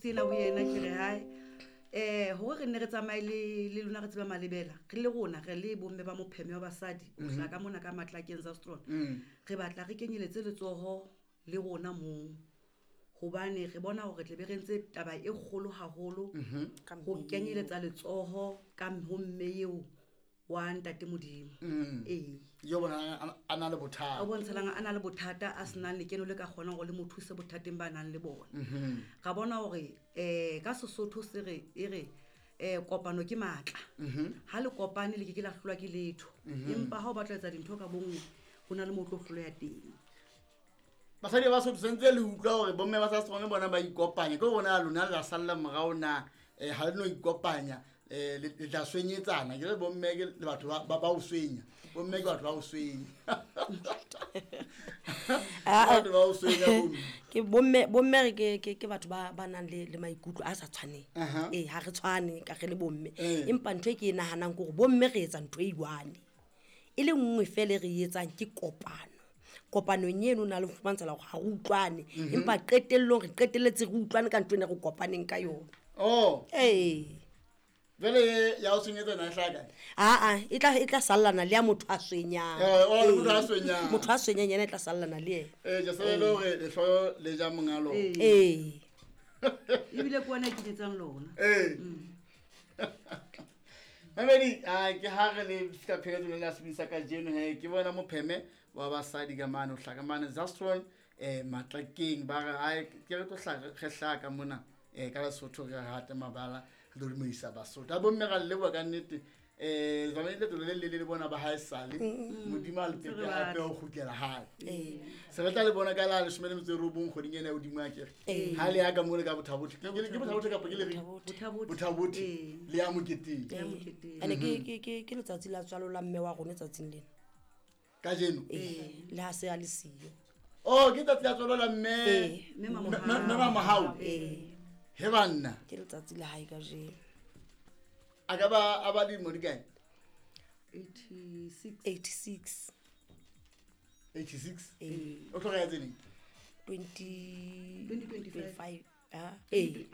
text ena ho yena ke re hae hore re nne re tsamaye le lona re tseba malebela re le rona re le bomme ba mopheme wa basadi o hlaka ka mona ka matlakeng Zastron. Re batla re kenyeletse letsoho le rona moo hobane re bona hore tle be re ntse taba e kgolo haholo ho kenyeletsa letsoho ka ho mme eo wa ntate Modimo. Ee. Yo bona a na le bothata. O bontshalang a na le bothata a senang lekeno le ka kgonang hore le mo thuse bothateng ba nang le bona. Ra bona hore ka Sesotho se re e re kopano ke matla. Ha le kopane le ke ke la hlolwa ke letho. Empa ha o batla ho etsa dintho ka bonngwe ho na le mo tlo hloleha teng. Basadi ba Sotho sentse le utlwa hore bomme ba sa Strong bona ba ikopanya ke rona lona la salla morao na ha le no ikopanya le tla swenyetsana ke le bomme ke le batho ba o swenya bomme ke batho ba o swenya batho ba o swenya bomme ke bomme re ke batho ba nang le maikutlo a sa tshwaneng. Ee, ha re tshwane ka re le bomme. Empa ntho e ke e nahanang ke hore bomme re etsa ntho e one e le nngwe fela re etsang ke kopano. Kopanong eno na le fumantshala hore ha re utlwane empa qetellong re qetelletse re utlwane ka ntho ena re kopaneng ka yona. Oh. Ee. Jwale ya o swenyetsa na hlaka? Aa, e tla sallana le ya motho a swenyang. Motho a swenyang. Motho a swenyang yena e tla sallana le yena. Ke se le hore lehloyo le ja monga lona. Ee. Ebile ke wena e kenyetsang lona. Ee. Mamedi, ke ha re le fihla pheletsong la sebedisa kajeno he ke bona mopheme wa basadi ka mane o hlaka mane Zastron Matlakeng ba re ai ke re tlo re hlaka mona ka Lesotho re rata mabala re tlo dumedisa Basotho a bomme ra leboha ka nnete tsamaile leeto le le le bona ba hae sale Modimo a le pepe hape o kgutlela hae. Se re tla le bona ka la 19 kgweding ena ya hodimo a kere ha le ya ka mo le ka Bothabothe ke Bothabothe kapa ke le re Bothabothe le ya moketeng. Ene ke letsatsi la tswalo la mme wa rona tsatsing lena kajeno le ha se a le siyo. Oh, ke tsatsi la tswalo la mme mme Mamohau. He banna ke letsatsi la hae kajeno. A ka ba a ba dilemo di kae? 86. 86. 86? O tlogetse neng? 2025. 2025. Ee.